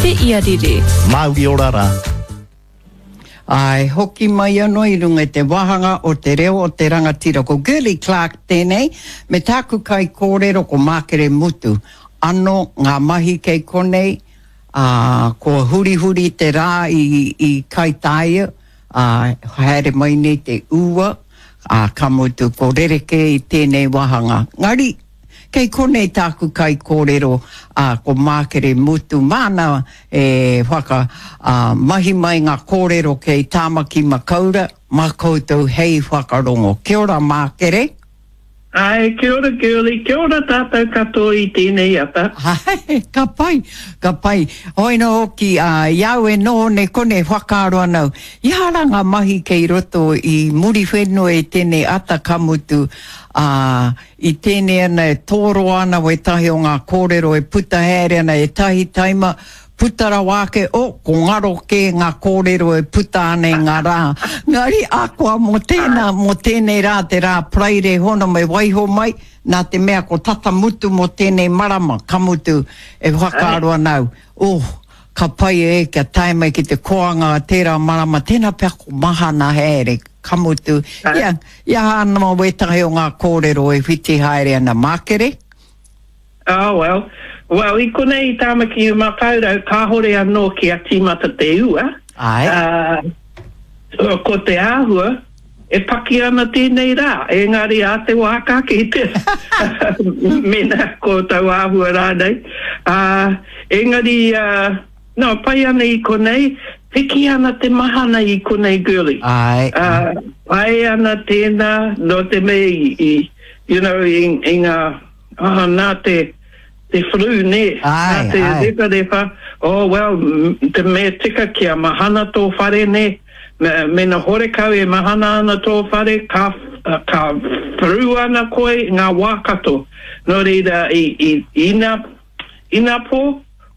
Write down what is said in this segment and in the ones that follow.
Te Iarere. Mauri ora ra. Āe, hoki mai anō i runga i te wāhanga o Te Reo o te Rangatira. Ko Girlie Clarke tēnei, me tāku kaikōrero ko Mākere Mutu. Ano ngā mahi kei konei, ā, kua hurihuri te rā i, i Kaitāia, ā, haere mai nei te ua, ā, ka mutu ko rerekē i tēnei wāhanga. Ngari, Kei konei tāku kaikōrero, ā, ko Mākere Mutu, māna e whaka, ā, mahi mai ngā kōrero kei Tāmaki Makaura, mā koutou hei whakarongo. Kia ora Mākere. Āe, kia ora Girlie, kia ora tātou katoa i tēnei ata. Āe, ka pai, ka pai. Hoi nō hoki, ā, i a au e noho nei konei whakaaro ana au, i aha rā ngā mahi kei roto i Muriwhenua i tēnei ata ka mutu, ā, I tēnei ana e tōroa ana wētahi o ngā kōrero e puta haere ana ētahi taima, puta rawa ake, oh, ko ngaro kē ngā kōrero e puta ana i ngā rā. Ngari, akoa mō tēnā, mō tēnei rā, te rā Paraire hono me waiho mai, nā te mea ko tata mutu mō tēnei marama, ka mutu, e whakaaro ana au, oh, ka pai e kia tae mai ki te koanga tērā marama, tēnā pea ko mahana haere, ka mutu, ia, I aha ana wētahi o ngā kōrero e whiti haere ana Mākere? Oh well. Well, i konei i Tāmaki Makaurau kāhore anō kia tīmata te ua. Āe. Ā, ko te āhua, e paki ana tēnei rā, engari ā te wā ka kitea, mēnā ko tau āhua rānei. Ā, engari, ā, No, pai ana i konei, piki ana te mahana i konei girlie. Ae, ae. Uh, pai ana tēnā, no te mea i, i you know, i, i ngā, oh, nā te, te flu, nē, ae, nā te ae. rewharewha, oh, well, te mea tika kia mahana tō whare, nē, me, mena horekau e mahana ana tō whare, ka, ka flu ana koe ngā wā katoa. Nō reira, i, i, ina, Inapō,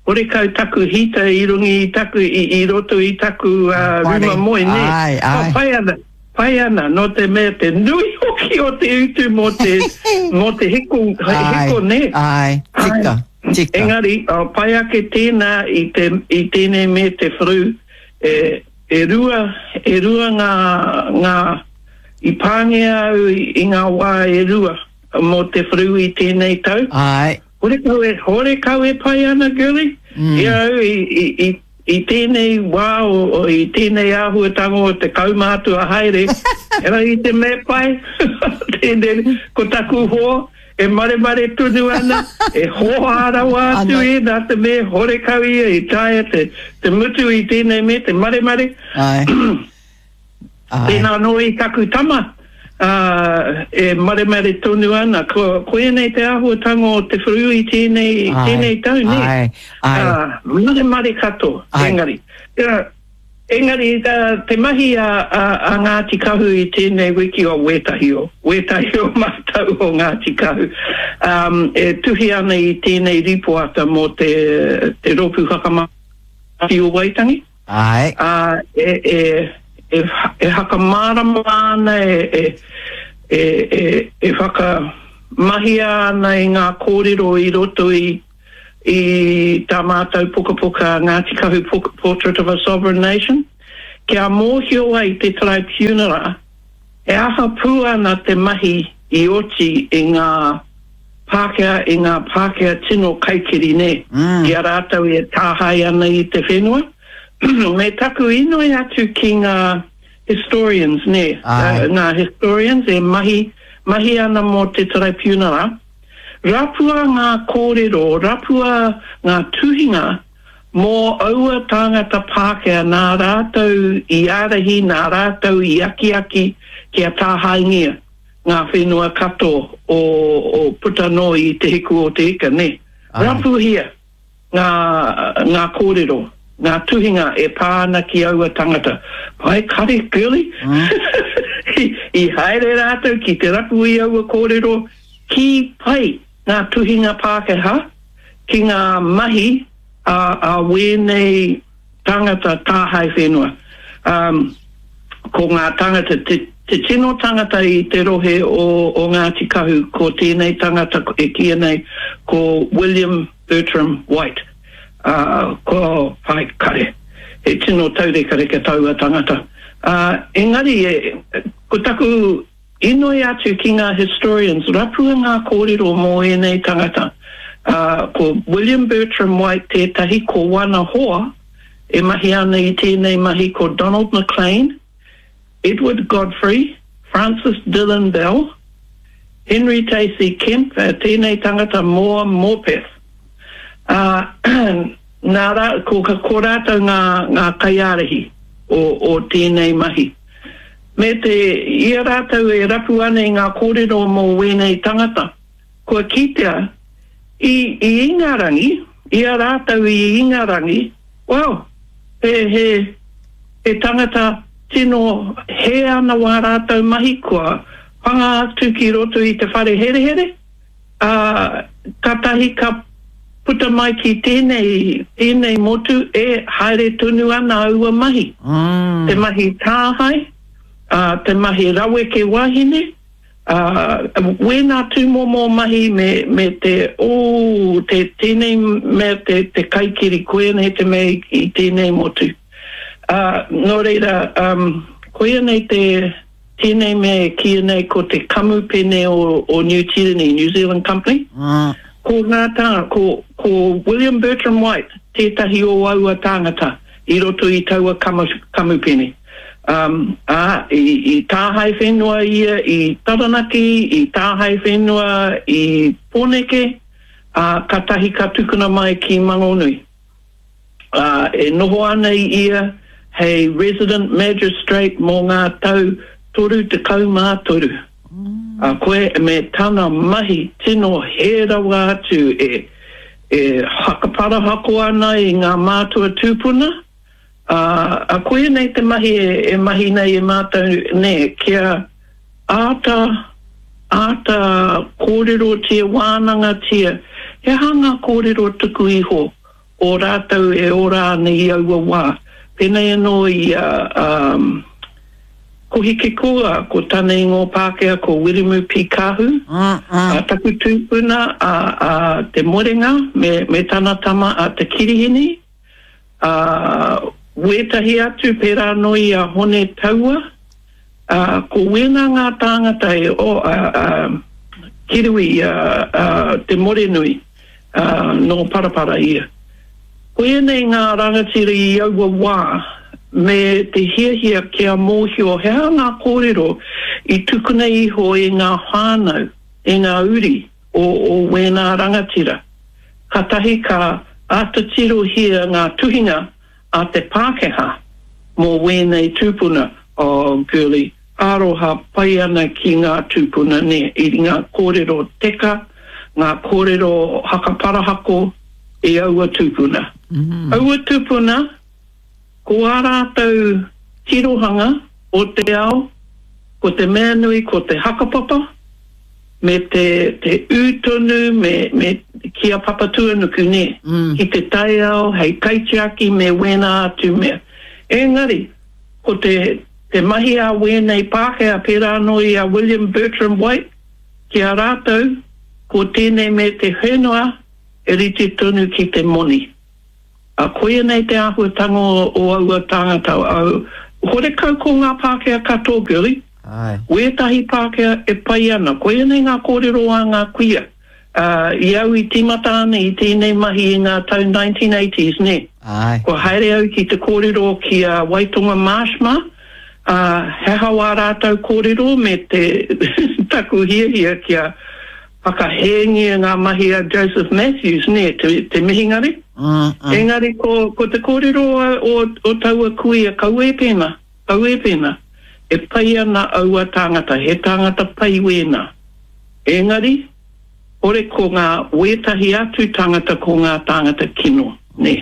horekau taku heater i runga i taku, i, i roto i taku uh, ruma moe, nē? Ai, ai. Oh, pai ana, pai ana, nō te mea te nui hoki o te utu mō te, mō te hiko, hiko, nē? Ai, tika, tika. Engari, oh, pai ake tēnā i, te, i tēnei me te whru, e, e rua, e rua ngā, ngā, i pāngia au i, i ngā wā e rua mō te whru i tēnei tau. Ai. Horekau e, horekau e pai ana, girlie. Mm. I au, i, i, i, i tēnei wā, o, o, i tēnei āhuatanga o te kaumātua haere, era i te mea pai, tēnei, ko taku hoa, e maremare tonu ana, e hōhā rawa atu e, nā te mea horekau ia i taea te, te mutu i tēnei mea, te maremare. Ai. Āe. Tēnā anō i taku tama, ā, e maremare tonu ana. Ko, koianei te āhuatanga o te whru i tēnei, Āe, tēnei tau, nē? āe, āe. Ā, maremare katoa, Āe. engari. Ā, engari, ā, te mahi a, a, a Ngāti Kahu i tēnei wiki, o wētahi o, wētahi o mātou o Ngāti Kahu, ā, e tuhi ana i tēnei rīpoata mō te, te Rōpū Whakamana o Waitangi. Āe. Ā, e, e, e, e hakamārama ana, e, e, e, e, e whakamahia ana i ngā kōrero i roto i, i tā mātou pukapuka Ngāti Kahu Portrait of a Sovereign Nation, kia mōhio ai te Taraipiunara he aha pū ana te mahi i oti i ngā Pākehā i ngā Pākehā tino kaikiri nē, i a rātou e tāhae ana i te whenua. Me taku inoi atu ki ngā historians nē, ngā historians e mahi, mahi ana mō te Taraipiunara, rapua ngā kōrero, rapua ngā tuhinga mō aua tāngata Pākehā nā rātou i ārahi, nā rātou i akiaki kia tāhaengia. ngā whenua kato o, o puta noa i Te Hiku o Te Ika, nē. Rapuhia ngā, ngā kōrero, ngā tuhinga e pā ana ki aua tangata. Pai kare, girlie? Mm. I, I haere rātou ki te rapu i aua kōrero, ki pai ngā tuhinga Pākehā ki ngā mahi a, a wēnei Tāngata tāhae whenua. Um, ko ngā tāngata, te, te tino tangata i te rohe o, o Ngāti Kahu, ko tēnei tangata e kīia nei ko William Bertram White. Ā, ko Pai Kare. He tino taurekareka taua tangata. Ā, engari, e, ko taku inoi atu ki ngā historians, rapua ngā kōrero mō ēnei tangata. Ā, ko William Bertram White tētahi, ko wana hoa e mahi ana i tēnei mahi ko Donald McLean, Edward Godfrey, Francis Dillon Bell, Henry Tacey Kemp, tēnei tangata mō Morpeth. Ā, nā rā, ko, ko rātou ngā, ngā kaiārahi o, o tēnei mahi. Me te, i a rātou e rapu ana i ngā kōrero mō wēnei tangata, kua kitea, i, i Ingarangi, i a rātou i Ingarangi, well, he, he, he tangata tino hē ana wā rātou mahi, kua panga atu ki roto i te whare herehere, ā, kātahi ka puta mai ki tēnei, tēnei motu e haere tonu ana aua mahi. Te mahi tāhae, ā, te mahi raweke wahine, ā, wēnā tūmomo mahi me, me te, ō, te, tēnei mea te, te kaikiri, koianei te mea i, i tēnei motu. Ā, nō reira, um, koia nei te, tēnei mea e kīia nei ko te kamupene o, o Niu Tīreni, New Zealand Company. Ko ngā tā, ko, ko William Bertram White tētahi o aua tāngata i roto i taua kamu, kamupene. Um, ā, i, i tāhae whenua ia i Taranaki, i tāhae whenua i Pōneke, ā, katahi ka tukuna mai ki Mangonui. Ā, e noho ana ia hei Resident Magistrate mō ngā tau 33. Ā, koe me tana mahi tino hē rawa atu e, e whakaparahako ana i ngā mātua tūpuna, ā, ā, koia nei te mahi e, e mahi nei e mātou, nē, kia āta, āta kōrerotia, wānangatia, he aha ngā kōrero tuku iho o rātou e ora ana i aua wā. Pēnei anō i a, a Kohikiko, a, ko tana ingoa Pākehā ko Wiremu P. Kahu, a taku tūpuna a, a Te Morenga me, me tana tama a Te Kirihini, ā, wētahi atu pērā anō i a Hone Taua, ā, ko wēnā ngā tāngata e, o, a, a, Kirui, a, a Te Morenui. ā, nō Parapara ia. Ko ēnei ngā rangatira i aua wā me te hiahia kia mōhio he aha ngā kōrero i tukuna iho e ngā whānau, e ngā uri o, o wēnā rangatira. Katahi ka āta tirohia ngā tuhinga a te Pākehā mō wēnei tūpuna, oh girlie, aroha pai ana ki ngā tūpuna nē, i ngā kōrero teka, ngā kōrero hakaparahako i aua tūpuna. Aua tūpuna, ko ā rātou tirohanga o te ao, ko te mea nui ko te hakapapa, me te, te ū tonu me, me, ki a Papatūānuku, nē, ki te taiao hei kaitiaki me wēnā atu mea. Engari, ko te, te mahi a wēnei Pākehā pērā anō i a William Bertram White, ki a rātou, ko tēnei me te whenua e rite tonu ki te moni. A koia nei te āhuatanga o aua tāngata, horekau ko ngā Pākehā katoa, girlie. Āe. Wētahi Pākehā e pai ana. Koia nei ngā kōrero a ngā kuia. Ā, i au i tīmata ana i tēnei mahi i ngā tau 1980s, nē. Āe. Kua haere au ki te kōrero ki a Waitonga Marsh mā, ā, he aha wā rātou kōrero me te taku hiahia kia whakahēngia ngā mahi a Joseph Matthews, nē, te, te mihingare. Engari ko, ko te kōrero o, o, o taua kuia, kaua e pēnā, kaua e pēnā. E pai ana aua tāngata, he tāngata pai wēnā. Engari, hore ko ngā wētahi atu tāngata ko ngā tāngata kino, nē.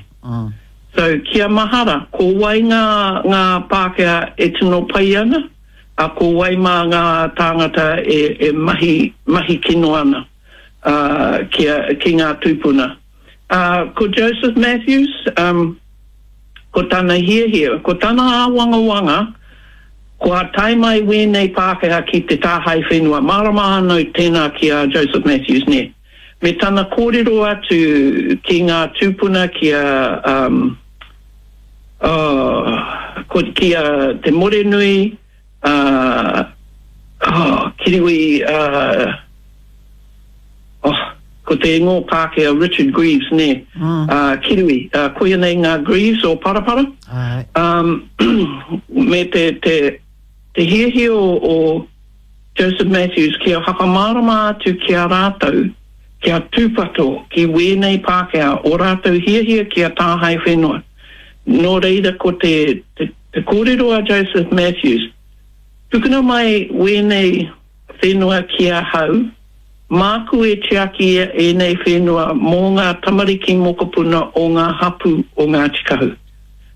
So, kia mahara, ko wai ngā, ngā Pākehā e tino pai ana, a ko wai mā ngā tāngata e, e mahi, mahi kino ana, ā, ki a, ki ngā tūpuna. Ā, ko Joseph Matthews, um, ko tana hiahia, ko tana āwangawanga, kua tae mai wēnei Pākehā ki te tāhae whenua. Mārama ana tēnā ki a Joseph Matthews, nē. Me tana kōrero atu ki ngā tūpuna ki a, um, oh, ko, ki a Te Morenui, uh, oh, Kiriwi, uh, oh, ko te ingoa Pākehā Richard Greaves, nē, mm. uh, Kiriwi, uh, koia nei ngā Greaves o Parapara. Ai. Um, me te, te, te hiahia o, o Joseph Matthews kia whakamārama atu ki a rātou, kia tūpato ki wēnei Pākehā, o rātou hiahia kia tāhae whenua. Nō reira ko te, te, te kōrero a Joseph Matthews, tukuna mai wēnei whenua ki ahau, māku e tiaki ēnei whenua mō ngā tamariki mokopuna o ngā hapū o Ngāti Kahu.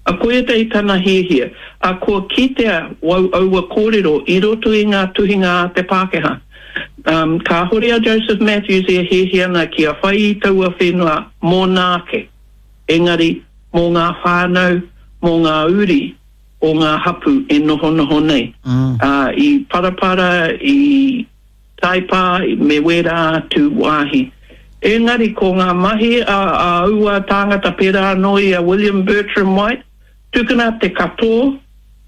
A koia tei tana hiahia, a kua kitea wau aua kōrero i roto i ngā tuhinga a te Pākehā. Um, kāhore a Joseph Matthews e hiahia ana kia whai i taua whenua mōna ake, engari mō ngā whānau, mō ngā uri o ngā hapū e nohonoho nei. Ā, i Parapara, i Taipā, me wērā atu wāhi. Engari ko ngā mahi a aua tāngata pērā anō i a William Bertram White, tukuna te katoa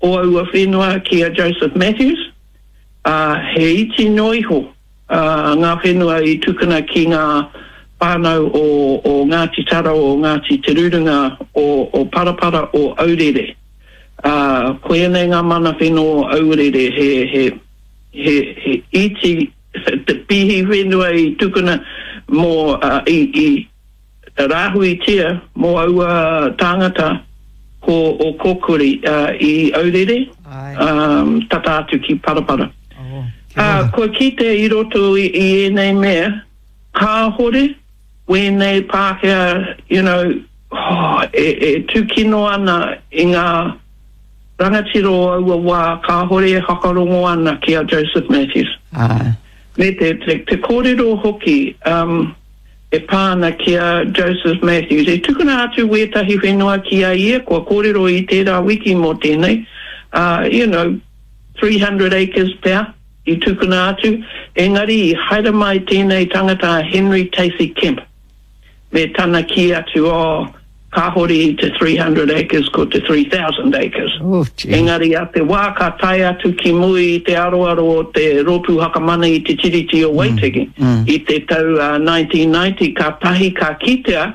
o aua whenua ki a Joseph Matthews, ā, he iti noa iho ngā whenua i tukuna ki ngā whānau o, o Ngāti Tara, o Ngāti Te Rurunga, o, o Parapara, o Aurere. Ā, koianei ngā mana whenua o Aurere, he, he, he, he iti te pīhi whenua i tukuna mō, ā, i, i rāhuitia mō aua tāngata ko o Kōkuri, ā, i Aurere, ā, tata atu ki Parapara. Ā, kua kite i roto i, i ēnei mea, kāhore wēnei Pākehā, you know, oh, e, e tūkino ana i ngā rangatira o aua wā kāhore e whakarongo ana ki a Joseph Matthews. Āe. Me te, te, te kōrero hoki um, e pā ana ki a Joseph Matthews. I tukuna atu wētahi whenua ki a ia, kua kōrero i tērā wiki mō tēnei, uh, you know, 300 acres pea i tukuna atu, engari i haere mai tēnei tangata a Henry Tacey Kemp me tana kī atu, oh, kāhore i te 300 acres ko te 3000 acres. Oh, gee. Engari a te wā ka tae atu ki muri i te aroaro o te Rōpū Whakamana i te Tiriti o Waitaki i te tau 1990 kātahi ka kitea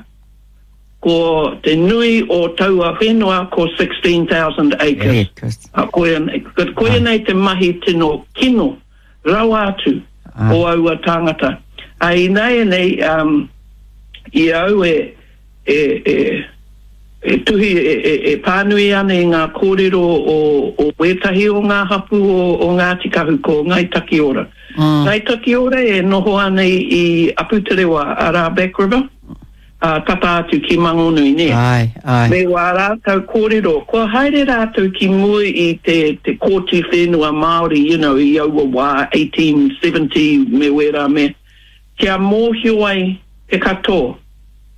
Ko te nui o taua whenua ko 16,000 acres. Acres. A koia nei, koia nei te mahi tino kino rawa atu o aua tāngata. A ināianei, um, i a au e, e, e, e tuhi, e, e, e pānui ana i ngā kōrero o, o wētahi o ngā hapū o, o Ngāti Kahu, ko Ngāi Takiora. Mm. Ngāi Takiora e noho ana i, i Aputerewa, arā Back River. ā, tata atu ki Mangonui, nē? Āe, āe. Me wā rātou kōrero, kua haere rātou ki mua i te, te Kōti Whenua Māori, you know, i aua wā, 1870 me wērā mea, kia mōhio ai te katoa,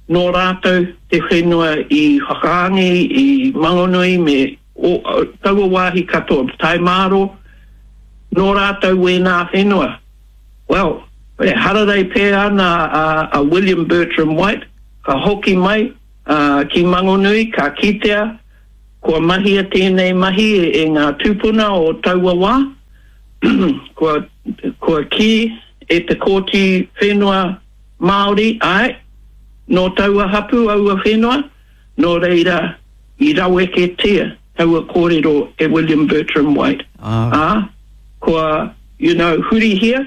nō rātou te whenua i Whakaangi, i Mangonui me, o, taua wāhi katoa, Taemāro, nō rātou wēnā whenua. Well, e hararei pē ana a William Bertram White, ka hoki mai ki Mangonui, ka kitea kua mahia tēnei mahi e ngā tūpuna o taua wā, kua, kua kī e te Kōti Whenua Māori, āe, nō taua hapū aua whenua, nō reira i raweketia taua kōrero e William Bertram White, ā, kua, you know, hurihia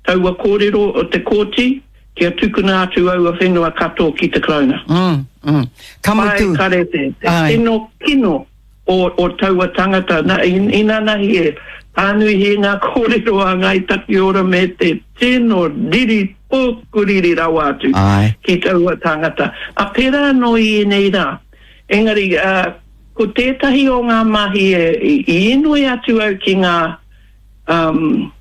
taua kōrero o te kōti kia tukuna atu aua whenua katoa ki te Karauna. Mm, mm. Ka mutu. Āe, kare te, te tino kino o, o taua tangata. Na, inanahi e pānuihia ngā kōrero a Ngāi Takiora me te tino riri pōkuriri rawa atu Āe. ki taua tangata. A pērā anō i ēnei rā. Engari, ā, ko tētahi o ngā mahi e, i, i inoi atu au ki ngā, um,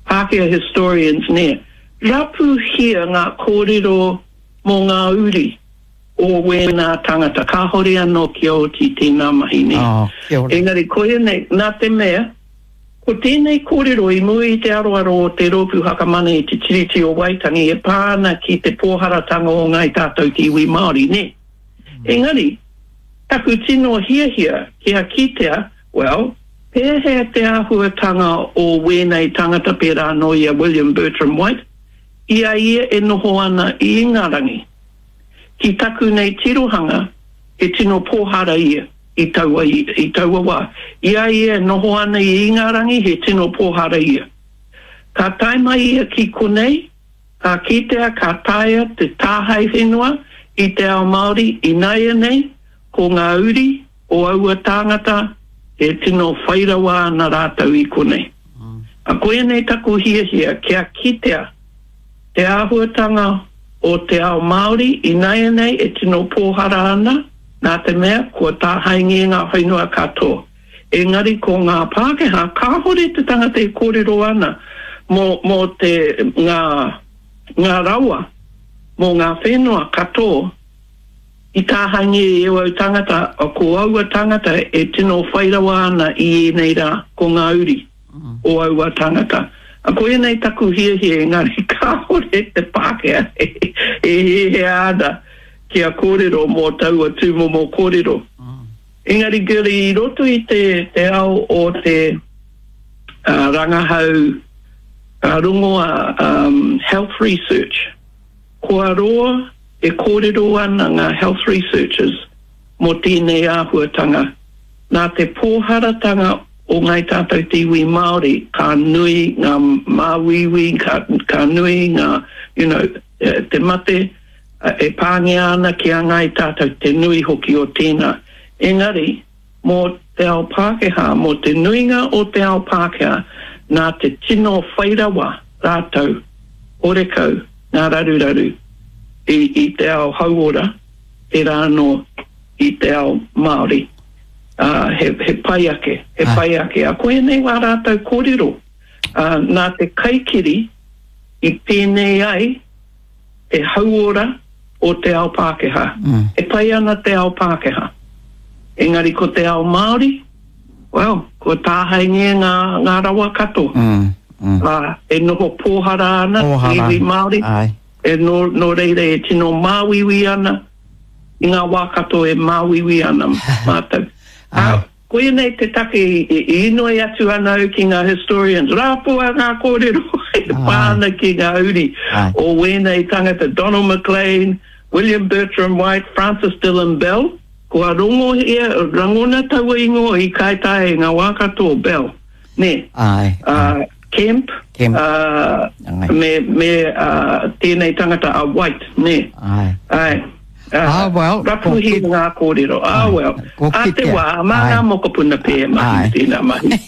Pākehā historians, nē, rapuhia ngā kōrero mō ngā uri o wēnā tangata, kāhore anō kia oti tēnā mahi, nē. Oh, kia ora. Engari koia nei, nā te mea, Ko tēnei kōrero i mua i te aroaro o te Rōpū Whakamana i te Tiriti o Waitangi e pā ana ki te pōharatanga o Ngāi Tātou te iwi Māori, nē? Engari, taku tino hiahia kia kitea, well, pēhea te āhuatanga o wēnei tangata pērā anō i a William Bertram White, i a ia e noho ana i Ingarangi. Ki taku nei tirohanga, he tino pōhara ia. I taua, i taua wā. I a ia e noho ana i Ingarangi, he tino pōhara ia. Ka tae mai ia ki konei, ka kitea ka taea te tāhae whenua i te ao Māori ināianei, ko ngā uri o aua tāngata e tino whai rawa ana rātou i konei. A koianei taku hiahia kia kitea te āhuatanga o te ao Māori ināianei e tino pōhara ana, nā te mea kua tāhaengia ngā whenua katoa. Engari ko ngā Pākehā, kāhore te tangata e kōrero ana mō, mō te, ngā, ngā rawa, mō ngā whenua katoa i tāhaengia i au tangata, ko aua tangata e tino whai rawa ana i ēnei rā, ko ngā uri. o aua tāngata. A koia nei taku hiahia engari kāore te Pākehā e hiahia ana kia kōrero mō taua tūmomo kōrero. Engari Girlie, i roto i te, te ao o te uh, rangahau uh, rongoa um, health research, kua roa e kōrero ana ngā health researchers mō tēnei āhuatanga. Nā te pōharatanga o Ngāi Tātou te iwi Māori, ka nui ngā māuiui, ka, ka nui ngā, you know, te mate e pāngia ana ki a Ngāi Tātou, te nui hoki o tēnā. Engari, mō te ao Pākehā, mō te nuinga o te ao Pākehā, nā te tino whairawa rātou, horekau ngā raruraru i, i te ao hauora, tērā anō i te ao Māori. Ā, he, he pai ake, he pai ake. Ā, koianei wā rātou kōrero, ā, nā te kaikiri i pēnei ai te hauora o te ao Pākehā. E pai ana te ao Pākehā. Engari ko te ao Māori, well, kua tāhaengia ngā, ngā rawa katoa. Ā, e noho pōhara ana te iwi Māori, e nō, nō reira e tino māuiui ana, i ngā wā katoa e māuiui ana mātou. Ā, koia nei te take i inoi atu ana au ki ngā historians, rapua ngā kōrero e pā ana ki ngā uri o wēnei tangata, Donald McLean, William Bertram White, Francis Dillon Bell, kua rongohia, rangona taua ingoa i Kaitaia i ngā wā katoa, Bell, nē. Ā, Kemp, ā, me, me, ā, tēnei tangata a White, nē. Āe. Āe. Ā, ah, well, rapuhia ngā kōrero. Ah, well, ko ā te wā, mā ngā mokopuna pē e mahi tēnā mahi.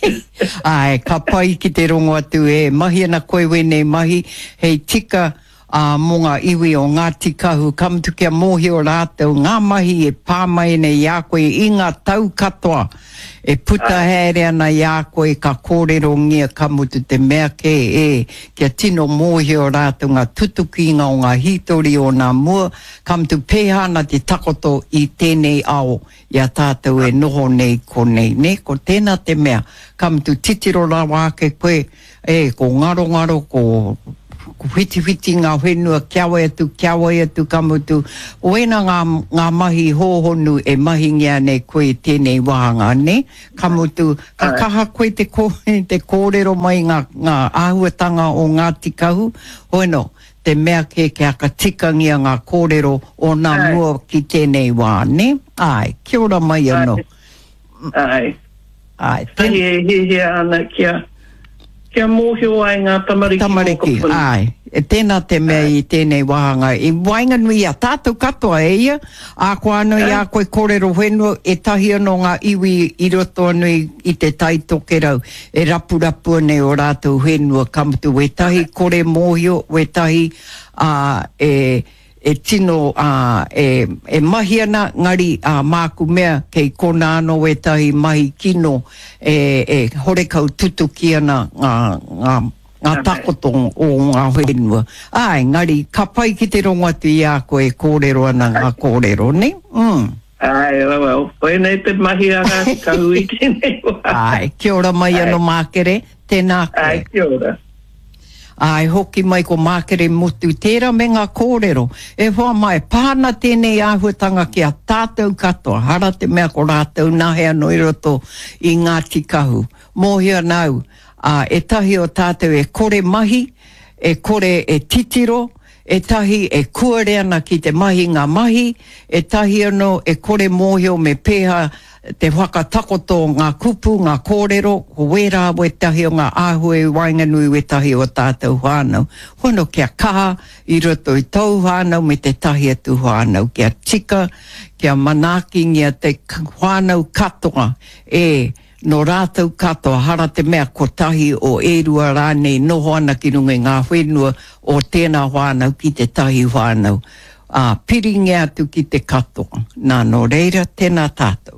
Āe, ka pai ki te rongo atu e mahi ana koe wēnei mahi, hei tika, ā, mō ngā iwi o Ngāti Kahu, ka mutu kia mōhio rātou ngā mahi e pā mai nei i a koe i ngā tau katoa e puta haere ana i a koe ka kōrerongia ka mutu te mea kē e kia tino mōhio rātou ngā tutukinga o ngā hītori o nā mua, ka mutu pēhā ana te takoto i tēnei ao i a tātou e noho nei konei, nē, ko tēnā te mea, ka mutu titiro rawa ake koe E, ko ngarongaro, ko whitiwhiti ngā whenua kia wai atu, kia wai atu, ka mutu, ko ēnā ngā, ngā mahi hōhonu e mahingia nei koe i tēnei wāhanga, nē? Ka mutu, ka kaha koe te kō, te kōrero mai ngā, ngā āhuatanga o Ngāti Kahu, hoeno, te mea kē kia whakatikangia ngā kōrero o nā mua ki tēnei wā, nē? Āe, kia ora mai anō. Āe. Āe, ten... Tahi e hiahia ana kia, kia mōhio ai ngā tamariki Tamariki, mokopuna. āe. E tēnā te mea i tēnei wāhanga, i waenganui i a tātou katoa e ia, ā, koa anō i a koe kōrero whenua, ētahi anō ngā iwi i roto anō i, i te Tai Tokerau e rapurapua nei ō rātou whenua, ka mutu wētahi kore mōhio, wētahi, ā, e, e tino, ā, e, e mahi ana, ngari, ā, māku mea, kei konā anō ētahi mahi kino e, e horekau tutuki ana ngā, ngā, ngā takoto o ngā whenua. Āe, ngari, ka pai ki te rongo atu i a koe e kōrero ana ngā kōrero, nē? Mm. Āe, well, koinei te mahi a Ngāti Kahu i tēnei wā. Āe, kia ora mai anō Mākere, tēnā koe. Āe, kia ora. Āe, hoki mai ko Mākere Motu, tērā me ngā kōrero. E hoa mā, e pā ana tēnei āhuatanga ki a tātou katoa, hara te mea ko rātou nahe anō i roto i Ngāti Kahu. Mōhio ana au, ā, ētahi o tātou e kore mahi, e kore e titiro, ētahi e kuare ana ki te mahi ngā mahi, ētahi anō e kore mōhio me pēhea te whakatakoto o ngā kupu, ngā kōrero, ko wērā wētahi o ngā āhua i waenganui wētahi o tātou whānau. Hono kia kaha i roto i tōu whānau me tētahi atu whānau, kia tika, kia manaakingia te whānau katoa e Nō rātou katoa, hara te mea kotahi o e rua rānei noho ana ki runga i ngā whenua o tēnā whānau ki tētahi whānau, ā, piringia atu ki te katoa. Nā, nō reira, tēnā tātou.